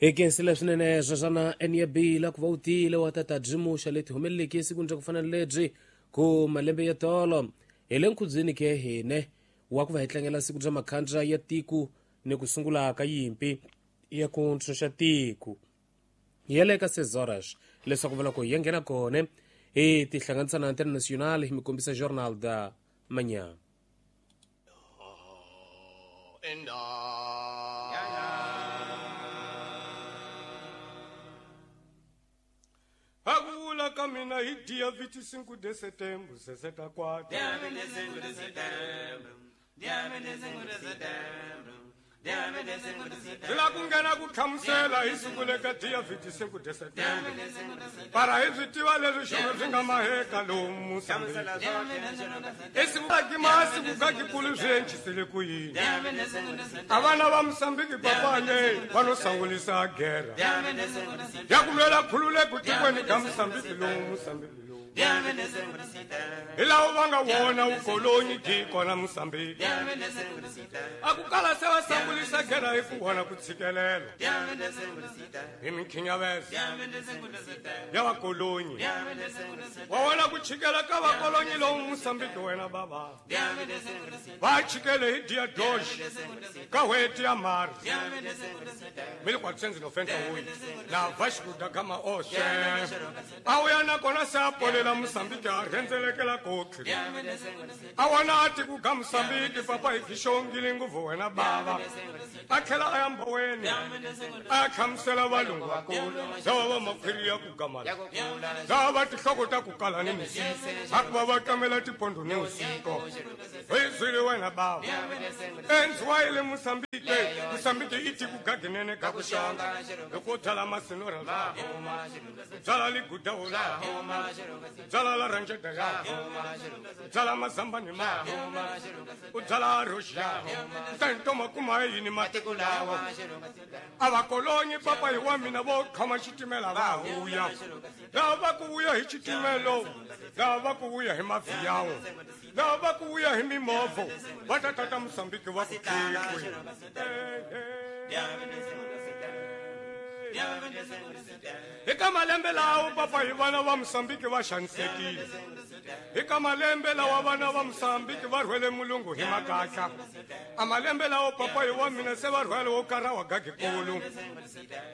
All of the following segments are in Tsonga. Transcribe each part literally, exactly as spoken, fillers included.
Hi khensile swinene sweswana Enyabila ku va u tile wa tata byimuxa leti humeleleke esikwini ra ku fana na lebyi ku malembe ya tolo hi le nkhubyeni ke hine wa ku va hi tlangela siku bya makhandla ya tiko ni ku sungula ka yimpi ya ku ntshunxa tiko ya le ka sezoras leswaku va loko hi ya nghena kona hi tihlanganisa na Antena Nacional hi mi kombisa Jornal da Manhã. Akula kamina hi dia vinte e cinco de setembro, sessenta e quatro. Dia vinte e cinco de setembro, dia vinte e cinco de setembro, dia vinte e cinco de setembro. Ila kungena ku hlamusela hi siku leka dia vinte e cinco de setembro. Para hi swi tiva leswi xona swi nga maheka lomu Mozambique. Esiku ka masiku ka kikulu swi encisile ku yini. A vana va Mozambique papane va no sangulisa guerra. Ya ku lwela khululeko tikweni ka Mozambique lomu Mozambique lomu. Hi laha va nga wona vukoloni byi kona Mozambique. A ku kala se va sangulisa guerra hi ku vona ku tshikelela. Hi minkhinyavezo ya vakolonyi. Wa vona ku chikela ka vakolonyi lomu Mozambique wena baba. Va chikele hi dia dois ka n'hweti ya March mil quatrocentos e noventa e oito na Vasco da Gama oxe. A wuya nakona se a polela Mozambique a rhendzelekela kotlhi. A wona a tiku ka Mozambique papa hi xongile nguvu wena bava. A tlhela a ya mboweni a hlamusela valungu va kona lava va makhwiri ya ku gamala lava va tinhloko ta ku kala ni misisi a ku va va tamela tipondo ni usiko hi zwile wena bava endziwa yi le Mozambique. Mozambique i tiku gaginene ka ku xonga loko byala masinora la byala ligudawo la byala la ranjeta ya byala mazambani ma u byala roxia tanto makuma yini matiko lawa a vakolonyi papa hi wa mina vo khoma xitimela va vuya lava va ku vuya hi xitimelo lava va ku vuya hi maviyawo lava va ku vuya hi mimovho va ta tata Mozambique va ku tikwe. Eka malembe lawo papa hi vana va Mozambique va xanisekile. Eka malembe lawa vana va Mozambique va rhwele mulungu hi makatla. A malembe lawo papa hi wa mina se va rhwele wo kara wa gagikulu.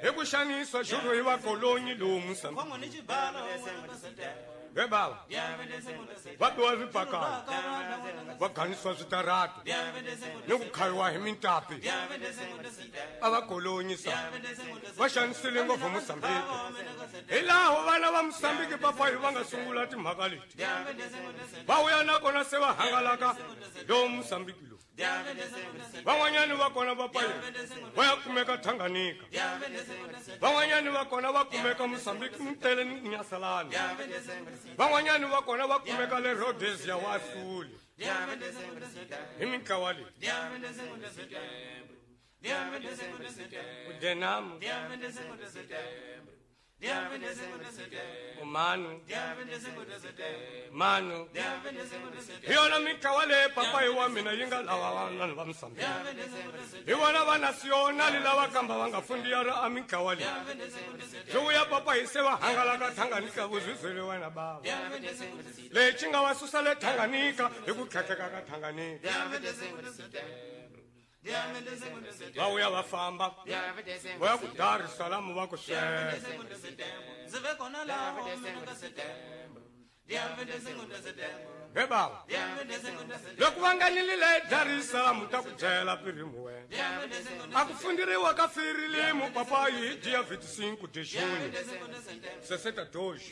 Hi ku xanisa xurhu hi vakolonyi lowu Mozambique. Ve bava va biwa swipakana va ganisiwa switarata ni ku khayiwa hi mintapi a va kolonyisa va xanisile ngopfu Mozambique. Hi laho vana va Mozambique papa hi va nga sungula timhaka leti va vuya nakona se va hangalaka lowu Mozambique lowu. Van'wanyani va kona va paye va ya kumeka Tanganyika. Van'wanyani va kona va kumeka Mozambique Mtele ni Nyasalani. Van'wanyani va kona va kumeka le Rhodesia wa Suli. Hi mintlawa leyi. Udenamu Umanu Manu hi yona mintlawa leyi papa hi wa mina yi nga lava vanhu va Mozambique. Hi vona va nasionali lava kamba va nga fundiyara a mintlawa leyi. Swi vuya papa hi se va hangalaka Tanganyika vuzwizwele wena bava. Lexi nga va susa le Tanganyika hi ku tlhatlheka ka Tanganyika. Va vuya va famba va ya ku Dar es Salaam va ku swela. He bava loko va nga nilile Dar es Salaam ta ku byela pirimu wena. A ku fundiriwa ka firilimu papa hi dia vinte e cinco de junho sessenta e dois.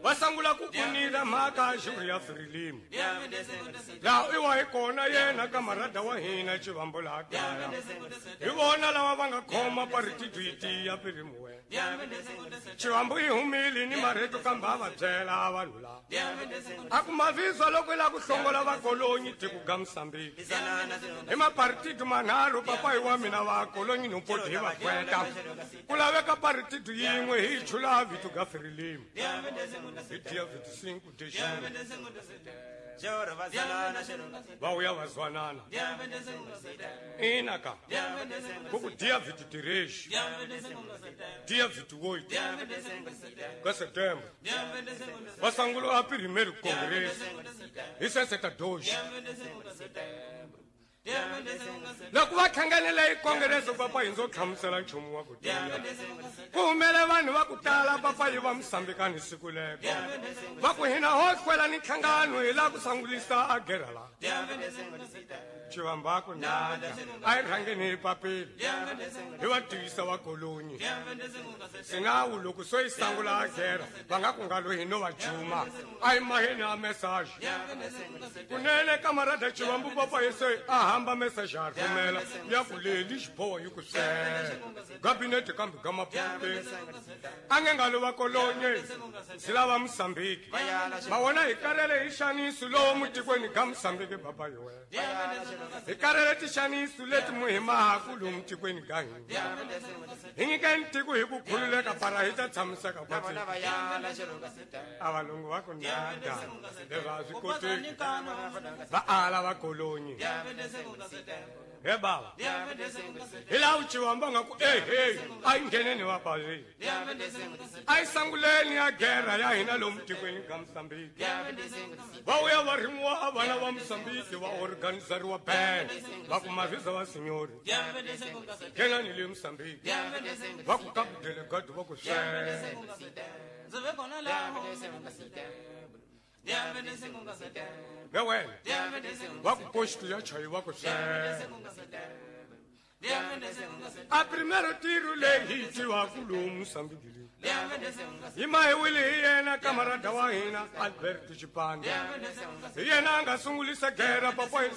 Va sangula ku unila mhaka xuri ya firilimu. Laha i wa hi kona yena kamarada wa hina Chivambo laha kaya. Hi vona lava va nga khoma paritidu yi tiya pirimu wena. Chivambo yi humile ni marito kambe a va byela vanhu lava. A ku mavizwa loko i lava ku hlongola vakolonyi tiko ga Mozambique. Hi maparitidu manharhu papa hi wa mina vakolonyi no poti hi va kweta. Ku laveka paritidu yin'we hi chula vito ga firilimu. Hi dia vinte e cinco de junho. Va vuya va zwanana ina ka ku ku dia vinte e três dia vinte e oito ka setembro va sungula a primeiro congresso hi sessenta e dois. Loko va hlanganele hi congresso, papa, hi ndzo hlamusela nchumu wa ku tiya ku humele vanhu va ku tala, papa, yi va Musambikani siku leko va ku hina ho kwela ni nhlangano hi laha ku sangulisa a gera la Chivambaku nada a hi rhangeni hi papila hi va tivisa va kolonyi sinawu loko so yi sangula a gera va nga ku nga loyi no va juma a hi maheni a message kunene kamarada Chivambu, papa, hi se a hamba message a rhumela ya ku leli xiboho yi ku swela gabinete kambe ga maputeni a nge nga lo va kolonye swi lava Musambiki ma wona hi karele hi xaniso lowu mutikweni ga Musambiki, papa, hi wena hi karele tixaniso leti muhimahaku lomu tikweni ga hina hi nyikeni tiko hi ku khululeka para hi ta tshamiseka kwatsi a valungu va ku nada leswi a swi koteki va ala va kolonyi he baba hi laha Vuchivamba nga ku ehe a yi ngheneni va bazini a yi sanguleni ya gera ya hina lomu tikweni ka Musambiki va vuya va rimiwa vana va Musambiki va organizariwa band va ku mavhiza va sinyori nghenani le Musambiki va ku ka delegado va ku swele. Ndzi ve kona laho dia vinte e cinco setembro. Ve wena Dia vinte e cinco va ku posto ya chayi va ku swele. setembro. Dia vinte e cinco setembro. A primero tiro leyi hi tivaku lomu Musambiki leyi Dia vinte e cinco hi mahiwile hi yena kamarada wa hina Alberto Chipande Dia vinte e cinco hi yena a nga sungulisa gera, papa, hi se.